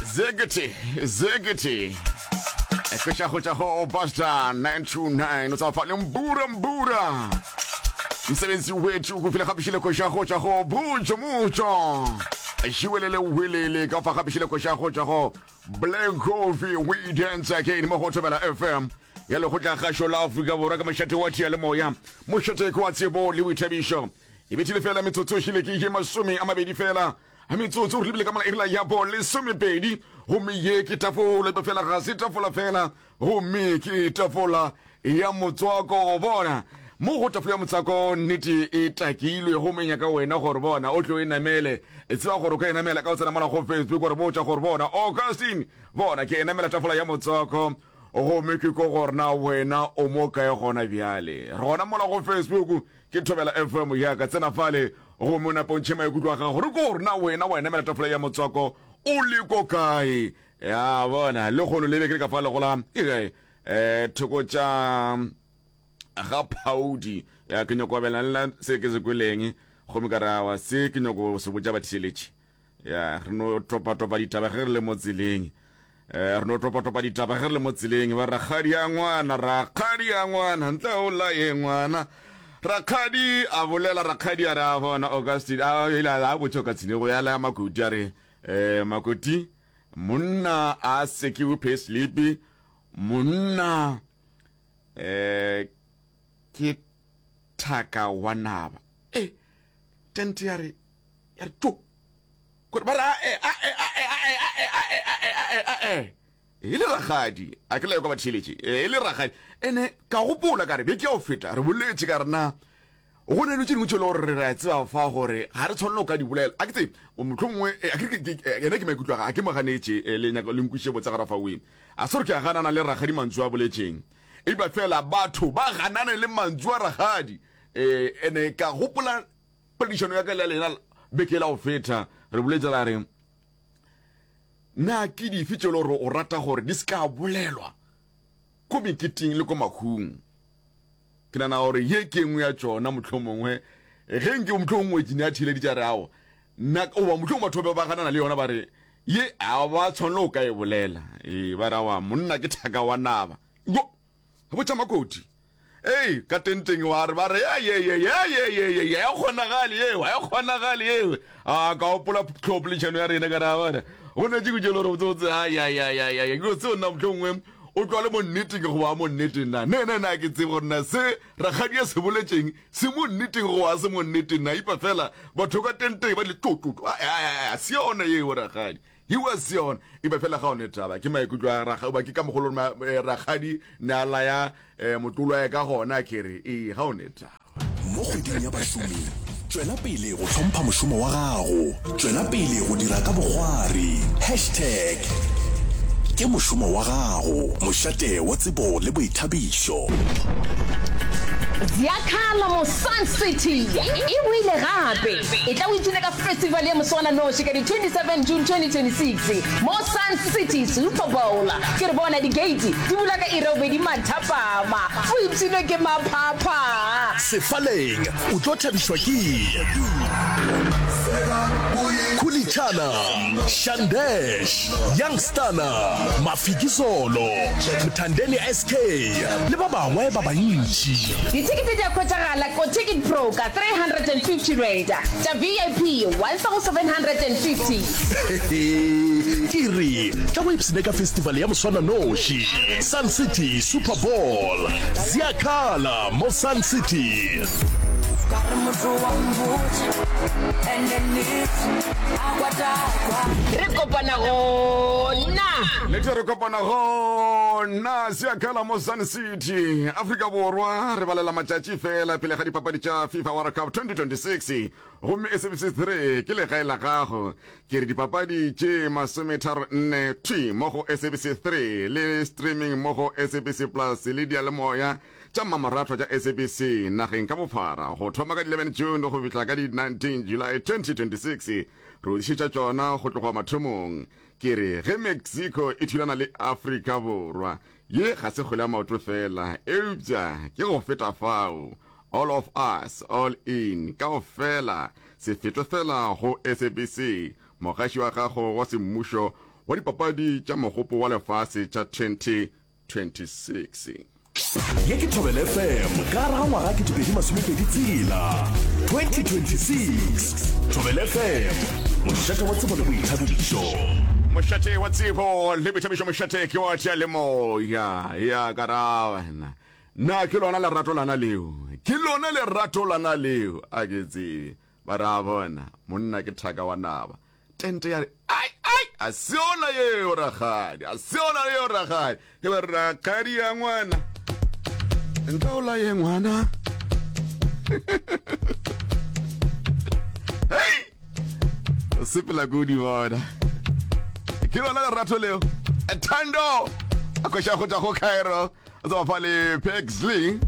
Zegete, zegete. Ekweša go tša go Basta 929 o tsa le mbura mbura. Msebenzi wethu go fila gapišile kweša go tša go bujo mujo. Jiwelele welele ka fa gapišile kweša go tša go Black Coffee we dance again mo go Thobela FM. Ya lekgotla gašo la Afrika Borwa ka mošate wa tia le moya. Mošate ke wa tsebo le boithabišo. E bethile fela metsotso e šile ke ye 20 fela. Metsotso re lebile ka mola iri ya bo lesomepedi gomme ye ke tafola epa fela ga se tafola fela gomme ke tafola ya motswako bona mo go tafola ya motswako nnete e takilwe gomme nyaka wena gore bona o tlo e namele e tseba gore o ka e namela ka o tsena mola go facebook gore botša gore bona augustine bona ke e namela tafola ya motswako gomme ke ko gore na wena o mo kae gona bjale re gona mola go facebook Ke Thobela FM ya ka, tsena fale gomme o nape o ntšhe maikutlo a gago. Re ko gore na wena wa e namela tafola ya motswako o le ko kae? Ya bona, lehono le be ke le ka fale go la ke kae? Eh, thoko tša ga Phaudi. Ya ke nyoko abelana le nna se ke se kweleng gomme ka re awa se ke nyoko se botša batheeletši. Ya, re no topa-topa ditaba ge re le mo tseleng. Eh, re no topa-topa ditaba ge re le mo tseleng. Ba rakgadi a ngwana, rakgadi a ngwana, ntle o laye ngwana. Rakgadi a bolela, rakgadi a re a bona Augustine, a ile a botša Augustine go ya laya Makoti a re, eh, Makoti, monna a sekiwe pay slip, monna eh ke thaka wa naba. Eh, tente ya re ya re tšo gore ba re ae ae ae ae ae ae ae ae ae e le rakgadi a ke la kwa ba theeletše e le rakgadi ene ka gopola ka re beke ya go feta re boletše ka rena go ne dilo tše dingwe tše e le gore re a tseba fa gore ga re tshwanelo ka di bolela a ke tse motlho mongwe ene ke maikutlo a ga ke mo ganetše le nyaka le nkwiše botsa gara fa weng a se gore ke a ganana le rakgadi mantšu a boletšeng epa fela batho ba ganane le mantšu a rakgadi um ene ka gopola Poledišano ya ka le ya lena beke la go feta re boletše ra re na ke dife tše le gore o rata gore di se ka bolelwa ko meketeng le ko mahung. Ke nana gore ye ke engwe ya tšona mohlomongwe ge nke mohlomongwe ke ne a theeleditše a re ao nna oba mohlomongwe batho ba ba ganana le yona ba re ye a ba tshwanelo o ka e bolela ee ba re awa monna ke thaka wa naba yo botša makoti Ei, ka tenteng wa re ba re ye ye ye ye ye ye ye ye ya kgonagale yeo ya kgonagale yeo. A ka opola tlhopolešano ya rena ka ra bona. Go ne tše tše lore botse botse ya ya ya ya ya. Ke tseo nna mohlomongwe o tlwa le mo nneteng go ba mo nneteng na. Ne ne na ke tsebe gore na se rakgadi a se boletšeng se mo nneteng go ba se mo nneteng na. Ipa fela batho ka tenteng ba le tlo tlo tlo. A se yona yeo rakgadi. He was yona e ba fela ga one taba ke maikutlo a raga ba ke ka mogolo eh, rakgadi ne a laya eh, motlolo ya ka gona ke re ee ga one taba. Mo kgweding ya bašomi, tšwela pele go hlompha mošomo wa gago. Tšwela pele go dira ka bokgwari. Hashtag Ke mošomo wa gago, mošate wa tsebo le boithabišo. Ziakhala mo Sun City e boile gape. Etla o ipshine ka festival ya moswananoši ka di 27 June 2026 mo Sun City Super Bowl. Ke re bona di-gate di bula ka iri ya bobedi mathapama. O ipshinwe ke maphapha. Sefaleng o tlo thabišwa ke Khulitshana, Shandesh, Youngstana, Mafikizolo, Mthandeni SK le ba bangwe ba bantši. Dithekete di a hwetšagala ko Ticket Pro ka R350, tša VIP R1750. Ke re tla go ipshine ka festival ya moswananoši, Sun City Super Bowl. Ziakhala mo Sun City. Re kopana gona. Nnete re kopana gona Siakhala mo Sun City, Afrika Borwa. Re balela matšatši fela pele ga dipapadi tša FIFA World Cup 2026 gomme SABC 3 ke legae la gago. Ke re dipapadi tše 34 thwi mo go SABC 3 le streaming mo go SABC Plus le diyalemoya tša mmamoratwa tša SABC nageng ka bophara go thoma ka di 11 June go fihla ka di 19 July 2026. Re o tlišetša tšona go tloga mathomong. Ke re ge Mexico e thulana le Afrika Borwa, ye ga se kgwele ya maoto feela, eupša ke go feta fao. All of us, all in, kaofela, se fetwe feela go SABC, mogaši wa gago wa semmušo. wa dipapadi tša mogopo wa lefase tša 2026. Ye ke Thobela FM ka gare ga ngwaga 2026 tshela, 2026. Thobela FM, mošate wa tsebo le boithabišo. Mošate wa tsebo le boithabišo, mošate ke wa diyalemoya. Ya ka ra wena. Na ke lona lerato lana leo? Ke lona lerato lana leo? A ke tsebe. Ba ra bona, monna ke thaka wa naba. Tente ya re, Ai, ai, a se yona yeo, rakgadi, a se yona yeo, rakgadi. Ke ba re, rakgadi ya ngwana, nka o laye ngwana. Hei, o sepela ko di bona. Ke lona lerato leo. Thando, a kweša go tšwa go Cairo, a tswa fa le Pexley.